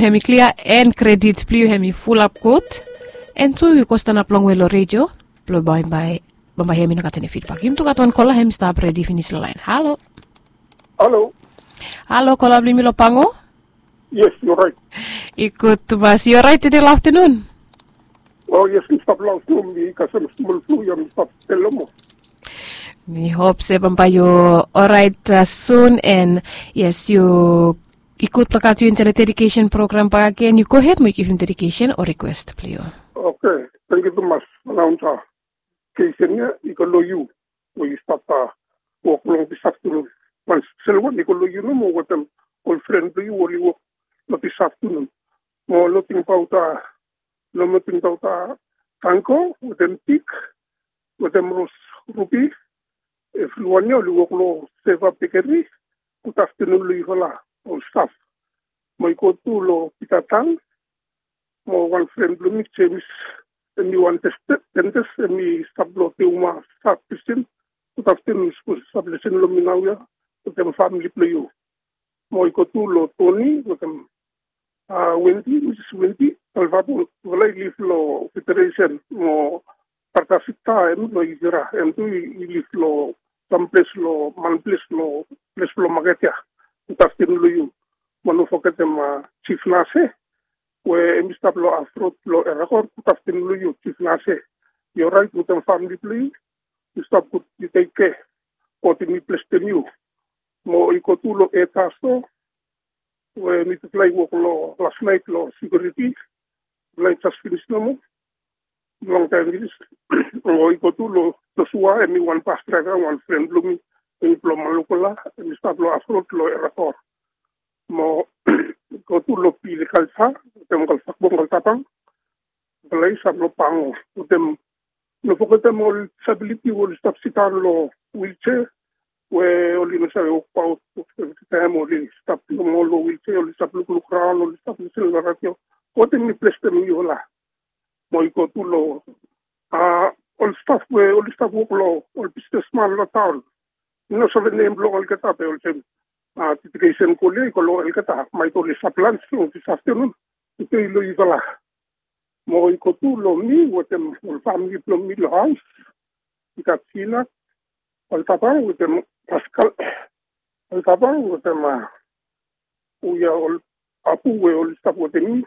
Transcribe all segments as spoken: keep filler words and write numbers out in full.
Hem i klia, en kredit blong yu hem i fulap gud. En tu yu go stanap longwe long redio blong bambae, bambae hem i no gat eni fidbak. Yumi tu gat wan kola hem i stap redi finis long laen. Halo. Halo. Halo, kola blong yumi long Pango? Yes, yu orait? I gud tumas. Yu orait tede long aftanun? O yes, mi stap long aftanun, mi kasem smol flu ya, mi stap stel nomo. Mi hop se bambae yu orait sun. En yes, yu i gud blong gat yu intae long dedikesen program bakegen. Yu gohed mo yu givim dedikesen o rikwes blong yu. Oke, tangkiu tumas. Anaunsa, dedikesen ya i go long yu we yu stap wok long disaftanun. Wan spesel wan i go long yu nomo wetem ol fren blong yu we oli wok long disaftanun. Mo noting baot, noting baot Tango wetem Pik wetem Ros Rubi, evriwan ya oli wok long Seva Bekeri. Gud aftanun long yufala ol staf. Mo i go tu long Pita Tang mo wan fren blong mi Jemis, hem i wan dentes, hem i stap long Teuma Sab Division. Gud aftanun, sapos i stap lisin long mi naoia wetem famili blong yu. Mo i go tu long Toni wetem Wendi, Misis Wendi Kalvabu, yufala i liv long Federesen mo brata Vikta hem long Ivira, hem tu i liv long sam ples long man ples long ples blong maket ya. Gud aftanun long yu. Mo no fogetem Jif Nase we hem i stap long Afrod long Erakor. Gud aftanun long yu Jif Nase. Yu orait wetem famili blong yu? Yu stap gud, yu tekkea. God hem i blesem yu. Mo i go tu long Eta Sto we mitufala i wok long las naet long sekiuriti. Mitufala i jes finis nomo, longtaem finis. Mo i go tu long Josua, hem i wan bas draeva, wan fren blong mi, hem i blong Malukola, hem i stap long Afrod long Erakor. Mo i go tu long Pili Kalsa wetem Kalsakbong Kaltabang, mitufala i stap long Pango wetem, no fogetem ol disabiliti we oli stap sidaon long wilsea we oli no save wokbaot, taem oli stap nomo long wilsea, oli stap lukluk raon, oli stap lisin long radio. God hem i blesem yufala. Mo i go tu long ol staf we oli stap wok long ol bisnesman long taon. Mi no save nem blong olgeta be olsem dedikesen kol ya i go long olgeta, maet oli stap lans long disaftanun. Tede i long yufala. Mo i go tu long mi wetem ol famili blong mi long haos. I gat Sina Kaltabang wetem Paskal Kaltabang wetem, a, u ya ol apu we oli stap wetem mi.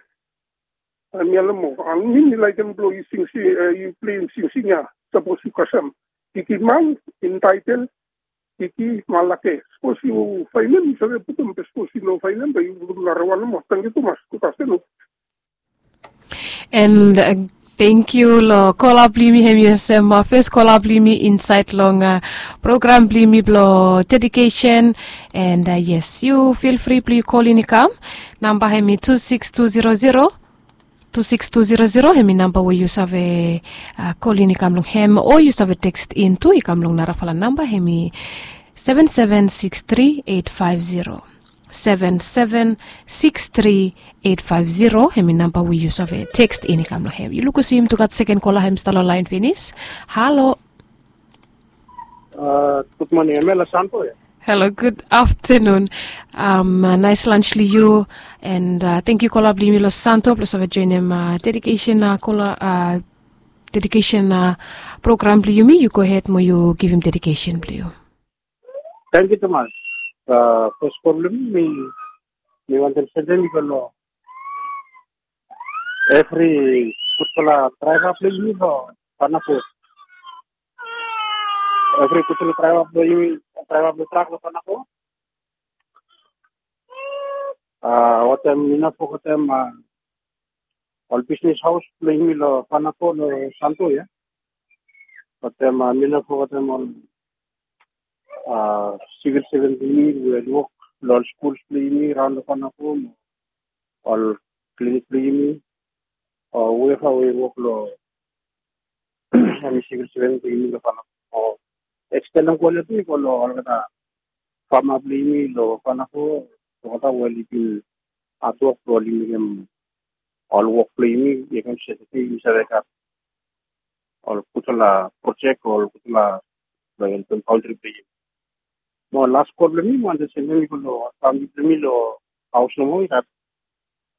Mi ya nomo, a, mi mi laekem blong yu singsing, yu pleim singsing ya, sapos yu kasem Kiki Man, intaetel Kiki Malake. Sapos yu faenem yu save putum, be sapos yu no faenem be yu putum narawan nomo. Tangkiu tumas, gud aftanun. And tangkiu long kola blong yumi, hem i olsem fes kola blong yumi insaed long program blong yumi blong dedikesen. And yes, yu fil fri blong yu kolin i kam. Namba hem i tu sikis tu zero zero, tu sikis tu zero zero, hem i namba we yu save kolin i kam long hem, o yu save tekst in tu i kam long narafala namba, hem i seven seven six three eight five zero. Seven seven six three eight five zero, hem i namba we yu save tekst in i kam long hem. Yu lukim se yumi tu gat seken kola hem i stap long laen finis. Halo. Gud moning, hem ya long Santo ya. Halo, gud aftanun. Naes lans long yu. And tangkiu kola blong yumi long Santo blong save joenem dedikesen kola, dedikesen program blong yumi. Yu gohed mo yu givim dedikesen blong yu. Tangkiu tumas. Fes kola blong mi, mi wantem sendem i go long evri gudfala draeva blong yumi long Panabo. Evri gudfala draeva blong yumi, draeva blong trak long Panabo. Wetem mi no fogetem ol bisnes haos blong yumi long Panabo, long Santo ya. Wetem mi no fogetem ol sivil sevens blong yumi we oli wok long ol skuls blong yumi raon long Panabo, ol klinik blong yumi, o whoever we oli wok long eni sivil sevens blong yumi long Panabo. Mo ekstendem kola ya tu i go long olgeta fama blong yumi long Panabo, olgeta we oli bin hatwok blong oli mekem ol wok blong yumi, i kam se tede yumi save gat ol gudfala projek o ol gudfala blong helpem kantri blong yumi. Mo las kol blong mi, mi wantem sendem i go long famili blong mi long haos nomo, i gat